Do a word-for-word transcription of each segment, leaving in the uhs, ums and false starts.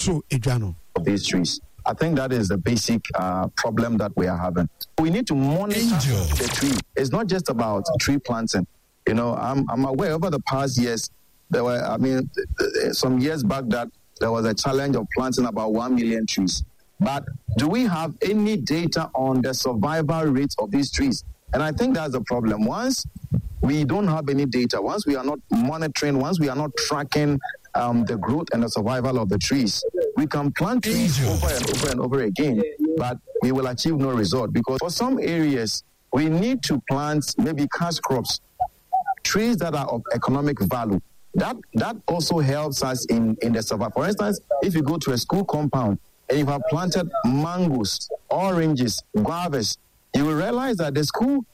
to edwa no. Of these trees. I think that is the basic uh, problem that we are having. We need to monitor Angel. the tree. It's not just about tree planting. You know, I'm, I'm aware over the past years, there were, I mean, th- th- some years back that there was a challenge of planting about one million trees. But do we have any data on the survival rate of these trees? And I think that's the problem. Once we don't have any data, once we are not monitoring, once we are not tracking um, the growth and the survival of the trees, we can plant trees Angel. over and over and over again, but we will achieve no result because for some areas, we need to plant maybe cash crops, trees that are of economic value. That that also helps us in, in the survival. For instance, if you go to a school compound and you have planted mangoes, oranges, guavas, you will realize that the school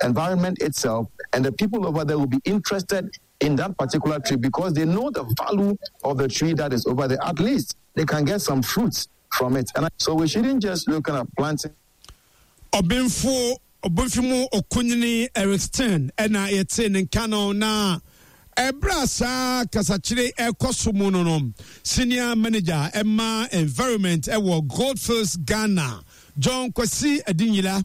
environment itself and the people over there will be interested in that particular tree because they know the value of the tree that is over there. At least they can get some fruits from it. And so we shouldn't just look at planting. Ɔbenfo ɔbenfo mu ɔkunyini Eric Stern ɛna yɛte ne nka no. Na ɛberɛ a saa kasakyere ɛkɔ so mu no no senior manager ɛma environment ɛwɔ Goldfields Ghana, John Kwasi Adinyira,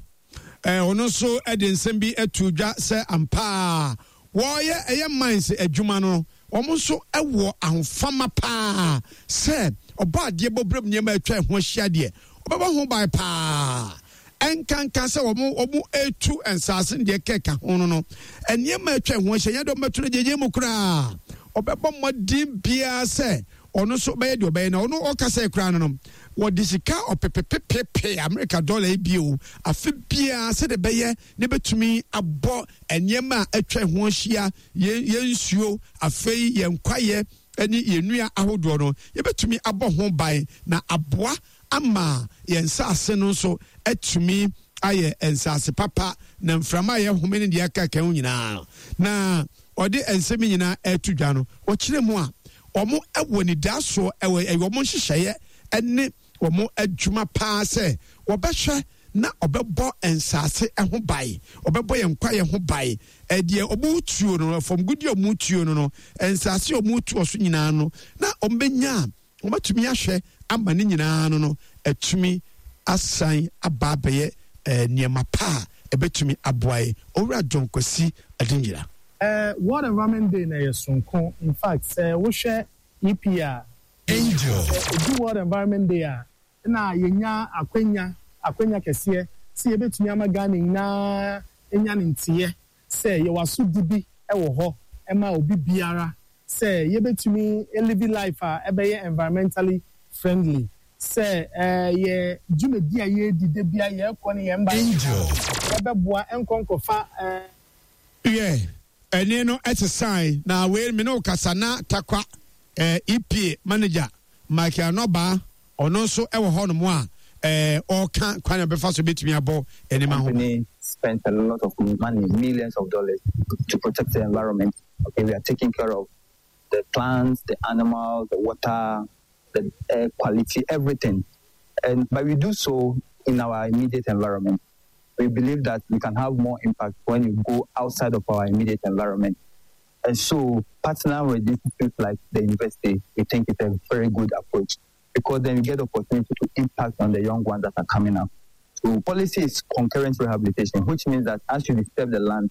ɛɛ ɔno nso ɛde nsɛm bi ɛto dwa sɛ ampaa wɔyɛ ɛyɛ mines adwuma no, wɔn nso ɛwɔ ahofama paa sɛ ɔbɔ adeɛ bɔ brɛm nneɛma atwa ɛho ahyia deɛ ɔbɛbɔ ho ban paa, ɛnkanka sɛ wɔn wɔn etu nsaase no deɛ kɛka ho no no nneɛma atwa ɛho ahyia nyɛ dɛ ɔbɛto no gyegye mu koraa. Ɔbɛbɔ mmɔden biara sɛ ɔno nso bɛyɛ deɛ ɔbɛyɛ. Na ɔno ɔkasa koraa no no wɔde sika ɔpepepepepe Amerika dɔla yi bio afe biara sɛde bɛyɛ ne bɛtumi abɔ nneɛma a atwa ho ahyia, yɛn yɛn nsuo, afei yɛn kwaeɛ ne yɛn nnua ahodoɔ no, yɛbɛtumi abɔ ho ban na aboa ama yɛn nsaase no nso atumi ayɛ nsaase papa na mframa a yɛhome ne deɛ aka ho nyinaa. Na ɔde nsɛm nyinaa ɛto dwa no, wɔkyerɛ mu a wɔn wɔ nidasoɔ ɛwɔ ɛyɛ wɔn nhyehyɛeɛ ɛne wɔn adwuma paa sɛ wɔbɛhwɛ na ɔbɛbɔ nsaase ho ban, ɔbɛbɔ yɛn kwaeɛ ho ban. Ɛdeɛ ɔmo tuo no, fam gudi a ɔmo tuo no no nsaase a ɔmo tuo so nyinaa no, na ɔmo bɛnya a wɔbɛtumi ahwɛ ama ne nyinaa no no atumi asan aba abɛyɛ ɛɛ nneɛma pa a ɛbɛtumi aboa yɛ. Owura John Kwasi Adinyira. Uh, World Environment Day na yɛ sonko. In fact, sɛ wohwɛ E P A, Angel. Ɛdu World Environment Day a, na yɛnya akwanya akwanya kɛseɛ sɛ yɛbɛtumi ama Ghana nyinaa nya ne nteɛ sɛ yɛwɔ asodi bi wɔ hɔ ɛma obi biara sɛ yɛbɛtumi live life a ɛbɛyɛ environmentally friendly, sɛ ɛɛ yɛ dwumadi a yɛredi de bia yɛrekɔ ne yɛn ba Angel. ɛbɛboa nkɔ nkɔfa ɛɛ. Yɛ ɛne no ɛsesan na wei me ne wo kasa na Tarkwa ɛɛ E P A manager Michael Anɔbaa, ɔno nso ɛwɔ hɔnom a ɛɛ ɔreka kwan a bɛfa so bɛtumi abɔ nneɛma ho ban. Company spent a lot of money, millions of dollars, to protect the environment. Okay, we are taking care of the plants, the animals, the water, the air quality, everything. And but we do so in our immediate environment. We believe that we can have more impact when you go outside of our immediate environment. And so partner with institutes like the university, we think it's a very good approach because then you get the opportunity to impact on the young ones that are coming up. So policy is concurrent rehabilitation, which means that as you disturb the land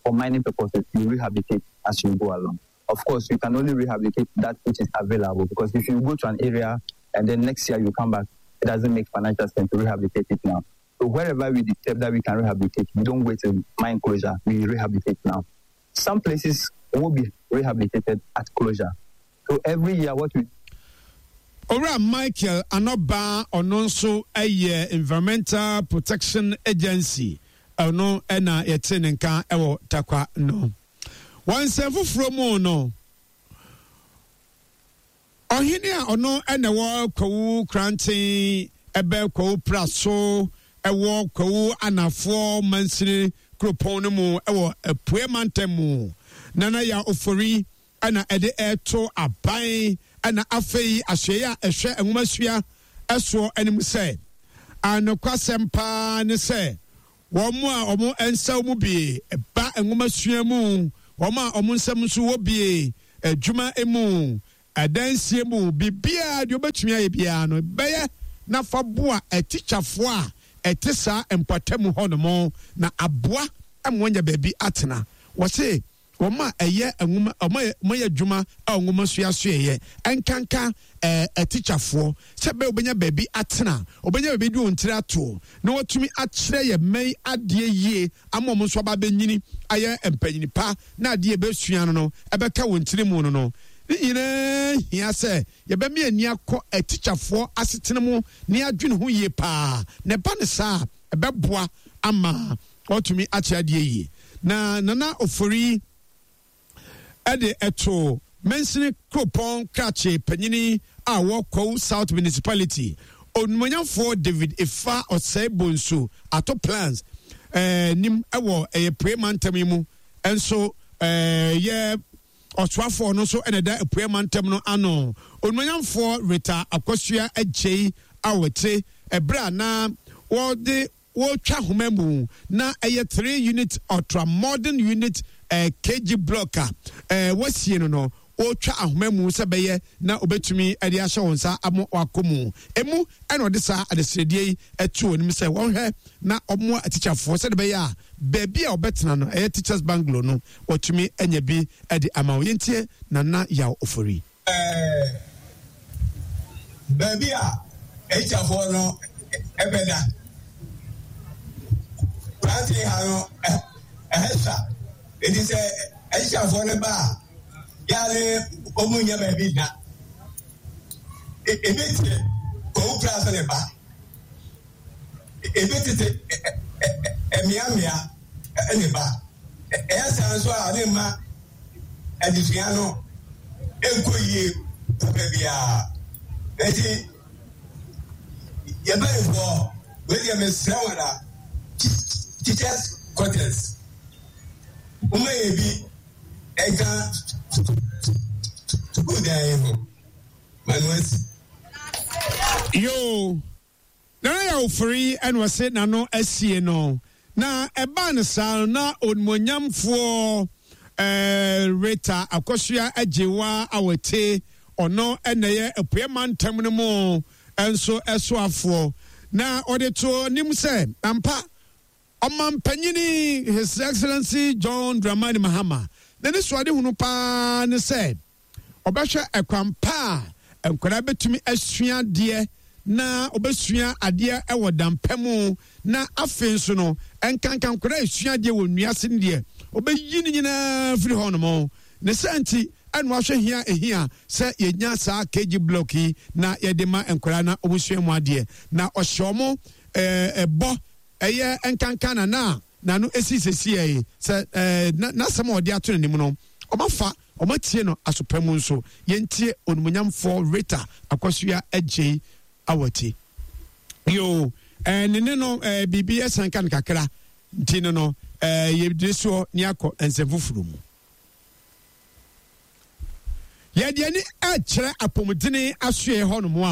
for mining purposes, you rehabilitate as you go along. Of course, you can only rehabilitate that which is available because if you go to an area and then next year you come back, it doesn't make financial sense to rehabilitate it now. So wherever we disturb that we can rehabilitate, we don't wait till mine closure, we rehabilitate now. Some places will be rehabilitated at closure. So every year what we Owura Michael Anɔba, ɔno nso yɛ Environmental Protection Agency, ɔno ɛna yɛte ne nka ɛwɔ Tarkwa no. Wɔn nsɛm foforɔ mu no, ɔhene a ɔno ɛna ɛwɔ Kwawu Kranten, ɛbɛ Kwawu Praso, ɛwɔ Kwawu Anafoɔ mansini kuropɔn no mu ɛwɔ Apue mantam mu, Nana Ya Ofori, ɛna ɛde ɛto aban ɛna afei ahwɛeɛ a ɛhwɛ nwomasua ɛsoɔ anim sɛ anokwasɛm paa ne sɛ wɔn a wɔn nsa mu bie ba nwomasua mu, wɔn a wɔn nsɛm nso wɔ bie adwuma mu. Ɛdansie mu biribiara deɛ wobɛtumi ayɛ biara no bɛyɛ na fa boa atikyafoɔ a ɛte saa mpɔtam hɔnom na aboa ma wɔanya baabi atena. Wɔse wɔn a ɛyɛ nwoma wɔn a wɔyɛ adwuma a nwoma suasuaeɛ nkanka ɛɛ atikyafoɔ sɛ bɛyɛ wɔbɛnya baabi atena, wɔbɛnya baabi de wɔn tiri ato na wɔatumi akyerɛ yɛn mma yi adeɛ yie ama wɔn nso aba abɛnyini ayɛ mpanyini pa na adeɛ ɛbɛsua no no ɛbɛka wɔn tiri mu no no. Ne nyinaa hia sɛ yɛbɛma yɛn ani akɔ atikyafoɔ asetena mu na yɛadwene ho yie paa, na ɛba no saa a, ɛbɛboa ama wɔatumi akyerɛ adeɛ yie. Na Nana Ofori de ɛto mansini kuropɔn krakye panyini a ɔwɔ Kwahu South Municipality, Onumonyamfoɔ David Efa Osei Bonsu Ato Plans eh, nim wɔ ɛyɛ Pue mantam yi mu nso eh, yɛ Ɔsoafoɔ no nso na ɛda Apueɛ Mantam no ano, Onuonyamfoɔ Rita Akosua Adjei Awotse, ɛberɛ a na wɔde wɔretwa homa mu na ɛyɛ three unit ultra modern unit eh, K G block a eh, wɔasie no no, wɔretwa ahoma mu sɛ bɛyɛ na wɔbɛtumi de ahyɛ wɔn nsa ama wakɔ mu. Emu ɛna ɔde saa adesrɛdeɛ yi to wɔn anim sɛ wɔnhwɛ na wɔmmoa atikyafoɔ sɛdeɛ ɛbɛyɛ a baabi a wɔbɛtena no, ɛyɛ Teachers Bungalow no, wɔatumi anya bi de ama wɔn. Yɛntie Nana Yaw Ofori. Ɛɛ, baabi a atikyafoɔ no bɛda. Plantain ha no, ɛhɛ sa. Enti sɛ atikyafoɔ no ba a, yɛ a ne wɔn nnya baabi nna. Ebi te Kwawu Pra so ne ba. Ebi tete mmeammea ne ba. Ɛyɛ saa nso a, ne mma adesua no nkɔ yie papa biara. Enti yɛn mpanimfoɔ, wei deɛ mesrɛ wɔn a, teachers quarters, momma yɛ bi nka sukuu dan yi ho ma no asi. Yoo. Nana Yaw Ofori na ɔse n'ano asie no, na ɛbaa no saa no na Onimuonyamfoɔ eh, Rita Akosua Agyewa Awete, ɔno na ɛyɛ Apueɛ Mantam no mu nso soafoɔ, na ɔde too anim sɛ ampa Ɔmampanyini His Excellency John Dramani Mahama n'anisoadehunu paa ne sɛ ɔbɛhwɛ ɛkwan pa a nkwadaa bɛtumi asua adeɛ na wɔbɛsua adeɛ wɔ dampa mu, na afei nso no nkanka nkwadaa a ɛsua adeɛ wɔ nnua ase no deɛ ɔbɛyi ne nyinaa firi hɔ nom. Ne saa nti ɛna wahwɛ hia ɛhia sɛ yɛnya saa K G block yi na yɛde ma nkwadaa na wɔsua mu adeɛ, na ɔhyɛ wɔn ɛbɔ ɛyɛ nkanka na na n'ano esi sesiɛ yi sɛ ɛɛ n'asɛm a ɔde ato n'anim no ɔmafa ɔmatie no asopa mu nso. Yɛntie Onumunyamfoɔ Rita Akosua Adjei Awati. Yoo, ɛɛ ne ne no ɛɛ biribi ɛsan ka no kakra nti no no ɛɛ yɛde soɔ ne akɔ nsɛm foforɔ mu. Yɛde ani ɛkyerɛ apɔmudene asoɛ hɔnom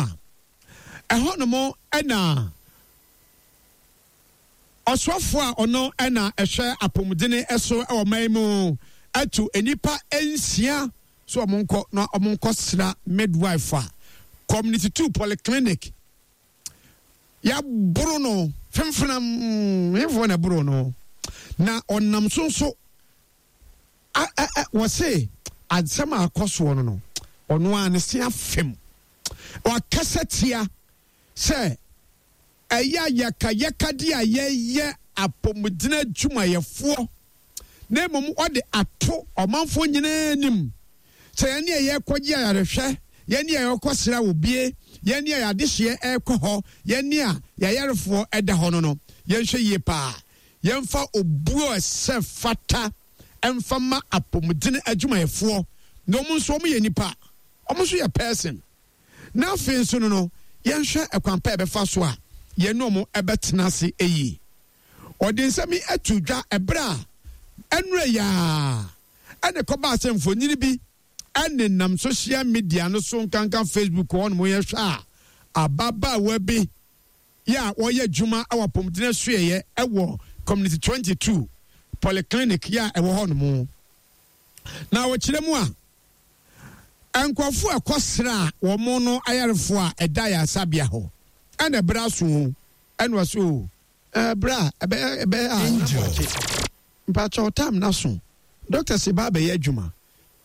a ɛhɔnom ɛna Ɔsoafoɔ a ɔno na ɛhwɛ apɔmudene so wɔ man mu atu nnipa nsia sɛ wɔn nkɔ na wɔn nkɔ sra midwife a Community two Polyclinic yɛaboro no femfenam hefoɔ na ɛboro no na ɔnam so nso wɔse asɛm a akɔ soɔ no no ɔno a ne se afem wakasa tia sɛ ɛyɛ ayakayakadeɛ a yɛyɛ apɔmuden adwumayɛfoɔ, na mmom wɔde ato ɔmanfoɔ nyinaa anim sɛ yɛn a yɛrekɔgye ayarehwɛ, yɛn a yɛrekɔsra obie, yɛn a yɛadehyeɛ ɛrekɔ hɔ, yɛn a yɛayarefoɔ ɛda hɔ no no, yɛnhwɛ yie paa. Yɛmfa obuo a ɛsɛ fata ɛmfa ma apɔmuden adwumayɛfoɔ, na wɔn nso wɔn yɛ nipa, wɔn nso yɛ person. Na afei nso no no, yɛnhwɛ ɛkwan pa a yɛbɛfa so a yɛne wɔn bɛtena ase yie. Ɔde nsɛm yi ato dwa ɛberɛ a ɛnora yi ara ɛna ɛkɔbaa sɛ mfonini bi nenam social media no so nkanka Facebook hɔ nom yɛhwɛ a ababaawa bi yɛ a ɔyɛ adwuma wɔ apɔmuden asuaeɛ wɔ Community twenty-two Polyclinic yɛ a ɛwɔ hɔ nom. Na wɔkyerɛ mu a Nkurɔfoɔ a ɛkɔsra wɔn no ayarefoɔ a ɛda ayaresabea hɔ ɛna ɛbrɛ aso o ɛna ɔsɛ o ɛbrɛ a ɛbɛyɛ ɛbɛyɛ a Angel. Mpakyɛw tam na so doctors ba abɛyɛ adwuma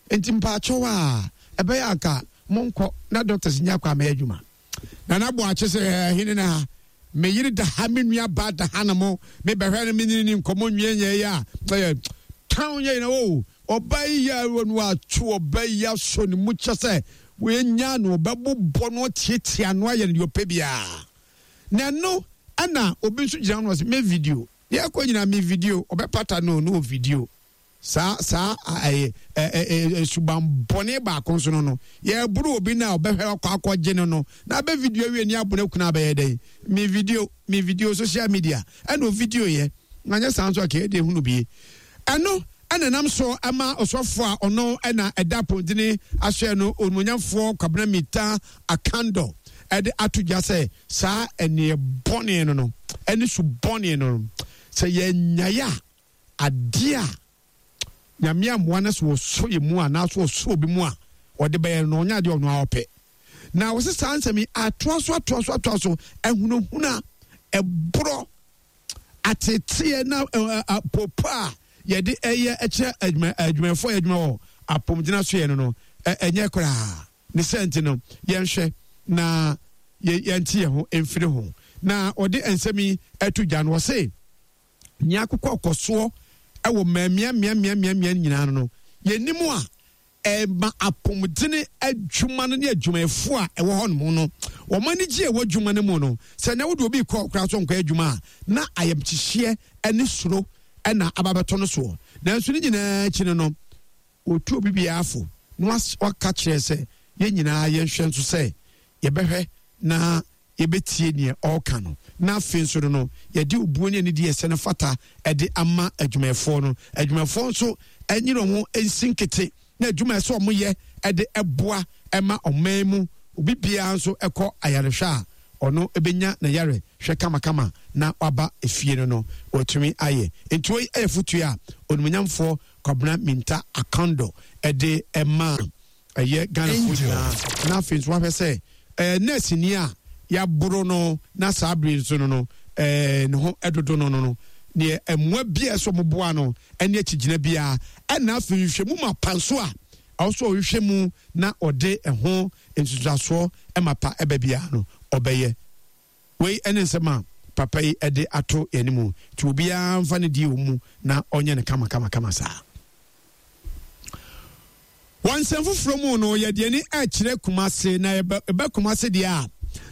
nti mpakyɛw a ɛbɛyɛ anka monkɔ na doctors nya kɔ amɛyɛ adwuma. Nana Boakye sɛ ɛhene na ha me yere da ha, me nua ba da ha na mo mebɛhwɛ no menene ne nkɔmmɔ nwie nyɛ yɛ a ɛyɛ town yɛ nyina o ɔba yi yɛ no atwo ɔba yi asɔ ne mu kyɛ sɛ wɔanya no ɔbɛbobɔ no ɔtiatia no ayɛ no deɛ ɔpɛ biara. Na ɛno ɛna obi nso gyina no ɔsɛ me video deɛ ɛkɔ nyina me video ɔbɛpata no no video saa saa ɛyɛ ɛɛ suban bɔne baako nso no no yɛboro obi na ɔbɛhwɛ akɔ akɔgye no no na abɛ video wie ni abono kuna abɛyɛ dɛn me video me video social media ɛna o video yɛ na nyɛ saa nso akɛyɛ de ehunu bie. Ɛno ɛna nam so ɛma ɔsɔfo a ɔno ɛna ɛda pɔntene ahyɛ no onimonyamfoɔ Kwabena Mita Akando ɛde ato dwa sɛ saa ɛneɛ bɔne no no ɛne su bɔne no no sɛ yɛnyaeɛ a adeɛ a Nyame amoa no sɛ wɔsɔ yɛ mu anaasɛ wɔsɔ obi mu a ɔde bɛyɛ no ɔnyɛ adeɛ ɔno a ɔpɛ. Na wɔsɛ saa nsɛm yi atoa so atoa so atoa so ɛhunahuna ɛborɔ ateteɛ na popo a yɛde ɛyɛ ɛkyerɛ adwuma adwumayɛfoɔ yɛ adwuma wɔ apɔmgyina so yɛ no no ɛnyɛ koraa. Ne sɛ nti no yɛnhwɛ na yɛnte yɛn ho mfiri ho. Na ɔde nsɛm yi ɛto dwa no wɔse nea akokɔ kɔsoɔ ɛwɔ mmeammea mmeammea mmeammea nyinaa no no yɛnim a ɛma apɔmudene adwuma no ne adwumayɛfoɔ a ɛwɔ hɔ nom no wɔn ani gye ɛwɔ adwuma no mu no sɛ na wode obi kɔ koraa so nkɔ adwuma a na ayamkyehyeɛ ne suro ɛna aba bɛtɔ no soɔ. Nanso ne nyinaa akyi no no wɔtu obi biara fo na waka kyerɛ sɛ yɛn nyinaa yɛnhwɛ nso sɛ yɛbɛhwɛ na yɛbɛtie neɛ ɔreka no. Na afei nso no no yɛde obuo ne anidie ɛsɛ no fata ɛde ama adwumayɛfoɔ no. Adwumayɛfoɔ nso ɛnyere wɔn nsi nkete na adwuma ɛsɛ wɔn yɛ ɛde ɛboa ɛma ɔman mu obi biara nso ɛkɔ ayarehwɛ a ɔno ɛbɛnya na yare hwɛ kamakama na waba efie no no wɔtumi ayɛ. Nti wei ɛyɛ fotuo a onimonyamfoɔ Kwabena Minta Akando ɛde ɛma ɛyɛ Ghanafoɔ nyinaa. Na afei nso wahwɛ sɛ ɛɛ nɛɛse ni a yaboro no na saa bere nso no no ɛɛ ne ho ɛdodo no no no neɛ mmoa bi a ɛsɛ ɔmo boa no ɛne akyigyina biara. Ɛna afei nhwehwɛ mu ma panso a ɔso ɔhwehwɛ mu na ɔde ɛho nsusuasoɔ ɛma pa ɛbɛ biara no ɔbɛyɛ. Wei ɛne nsɛm a papa yi ɛde ato yɛn mu nti obiara mfa ne die wɔ mu na ɔnyɛ ne kama kama kama saa. Wɔn nsɛm foforɔ mu no yɛde ani ɛkyerɛ Kumase na ɛbɛ Kumase deɛ a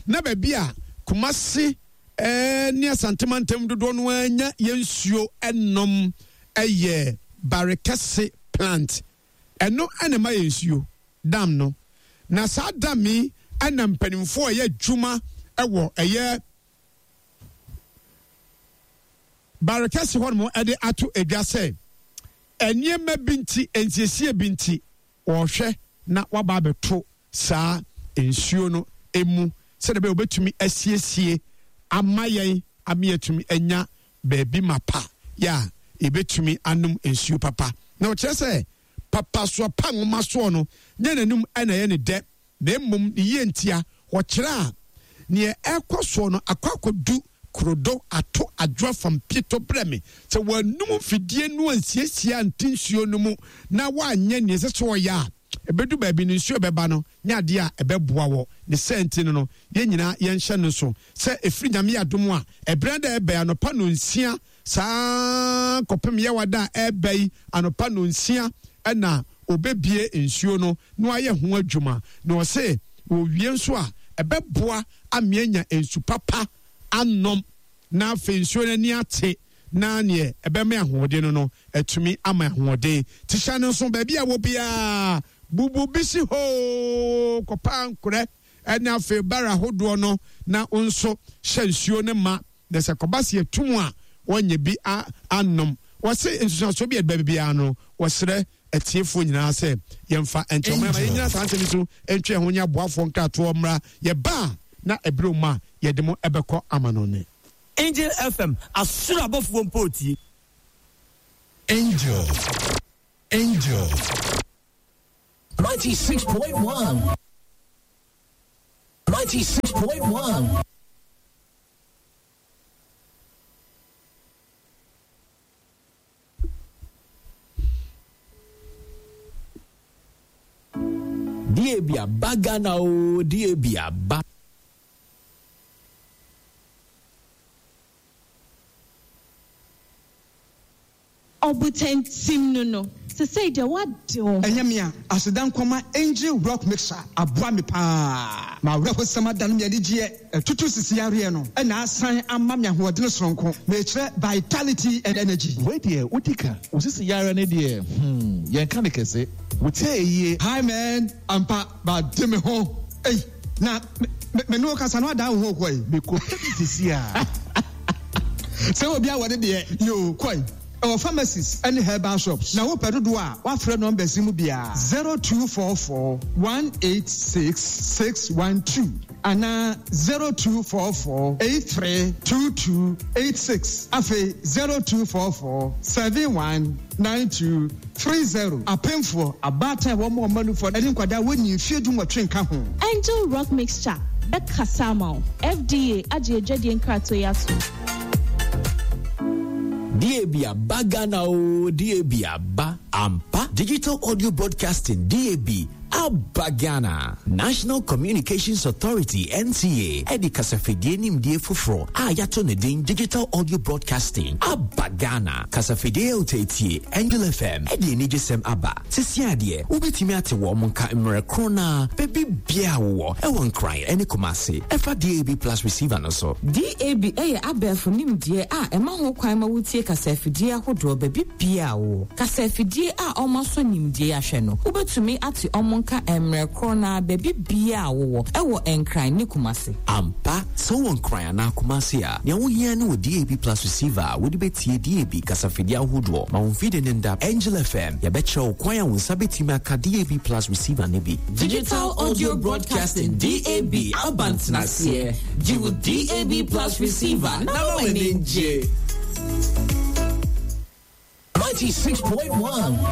na baabi a Kumase ɛɛ ne Asantemantam dodoɔ no anya yɛn nsuo ɛnom ɛyɛ Barekɛse plant. Ɛno ɛna ma yɛn nsuo dam no. Na saa dam yi ɛna mpanimfoɔ ɛyɛ adwuma ɛwɔ ɛyɛ Barekɛse hɔ nom ɛde ato edwa sɛ nneɛma bi nti nsiesie bi nti wɔhwɛ na waba abɛto saa nsuo no emu sɛdeɛ bɛyɛ wɔbɛtumi asiesie ama yɛn ama yɛtumi anya baabi ma pa yɛ a yɛbɛtumi anom nsuo papa. Na ɔkyerɛ sɛ papa soɔ pa nwoma soɔ no nyɛ n'anum ɛna ɛyɛ ne dɛ na mmom ne yie ntia. Ɔkyerɛ a neɛ ɛkɔ soɔ no akɔ akɔdu kurodo ato adwoa fam pieto brɛ me sɛ wɔanum mfidie no ansiesie ante nsuo no mu na wɔanyɛ neɛ ɛsɛ sɛ ɔyɛ a ɛbɛdu baabi no nsuo ɛbɛba no nyɛ adeɛ a ɛbɛboa wɔ ne sɛ nti no no yɛn nyinaa yɛnhyɛ no so sɛ ɛfiri Nyame adom a ɛberɛ da ɛbɛn anɔpa no nsia saa kɔpem yɛwada a ɛbɛ yi anɔpa no nsia ɛna obɛbie nsuo no na wayɛ ho adwuma. Na ɔse wɔwie nso a ɛbɛboa ameanya nsu papa anom na afei nsuo no ani ate na neɛ ɛbɛma ahoɔden no no atumi ama ahoɔden. Tihyɛ no nso baabi a wɔ biara bubu bi si hoo kɔpa nkorɛ ɛne afei bara ahodoɔ no na nso hyɛ nsuo no ma na sɛ kɔba se atum a wɔnyɛ bi anom. Wɔse nsusuasoɔ bi a ɛba biara no wɔsrɛ atiefoɔ nyinaa sɛ yɛmfa nkyɛn ɔmo ama yɛnyina saa nsɛm so ntwe ho nyɛ aboafoɔ nkratoɔ mmra yɛba a na ɛberɛ mu a yɛde mo ɛbɛkɔ ama no ne Angel F M asoro abɔfoɔ mpo tie. Angel, Angel. Ninety-six point one. Ninety-six point one. D A B aba Ghana o, D A B aba. Obutentim no no. Sesei deɛ wade wo. Ɛnyɛ me a, aseda nkɔma Angel Rock Mixer aboa me paa. Ma awerɛhosɛm adane me anigyeɛ. Ɛtutu sisi yareɛ no ɛna asan ama me ahoɔden soronko. Mekyerɛ vitality and energy. Wei deɛ wodi ka. Wo sisi yareɛ no deɛ, hmm, yɛnka ne kɛse. Wotie yie. Hi man, ampa, bade me ho. Ei, na me me ne wo kasa no adan wo ho kɔ yi. Mekɔ pɛ bi sisi a. Sɛ obi a wɔde deɛ, yo, kɔ yi. Ɛwɔ pharmacies ne herbal shops. Na wopɛ dodoɔ a, woafrɛ numbers yi mu biara, zero two four four one eight six six one two anaa zero two four four eight three two two eight six. Afei zero two four four seven one nine two three zero. Apemfoɔ, abaatan a wɔn mma nufoɔ ne nkwadaa a wɔnni mfeɛ du nwɔtwe nka ho. Angel Rock Mixture bɛkasa ama wo. F D A agye adwadie nkratoɔ yi ato. D A B aba Ghana o, D A B aba ampa. Digital Audio Broadcasting D A B aba Ghana. National Communications Authority N C A ɛde kasafidie nimdie foforɔ a yɛato ne din Digital Audio Broadcasting aba Ghana. Kasafidie a woteetie Angel F M ɛde anigyesɛm aba. Sisi adeɛ wobɛtumi ate wɔn mo nka mmerɛ korɔ na baabi biara wowɔ ɛwɔ Nkran ɛne Kumasi ɛfa D A B Plus receiver no so. D A B ɛyɛ abɛɛfo nimdeɛ a ɛma ho kwan ma wotie kasafidie ahodoɔ baabi biara wowɔ. Kasafidie a ɔma so nimdeɛ ahwɛ no, wobɛtumi ate ɔmo nka mmerɛ korɔ na baabi biara wowɔ ɛwɔ Nkran ne Kumasi. Ampa, sɛ wowɔ Nkran anaa Kumasi a, nea wohia ne wɔ D A B Plus receiver a wode bɛtie D A B kasafidie ahodoɔ ma wo mfidie ne nda. Angel F M, yɛbɛkyerɛ wo kwan a wo nsa bɛtumi aka D A B Plus receiver ne bi. Digital Audio Broadcasting D A B aba ntenaseɛ. Gye wo D A B Plus receiver na ma w'ani ngye. Ninety-six point one.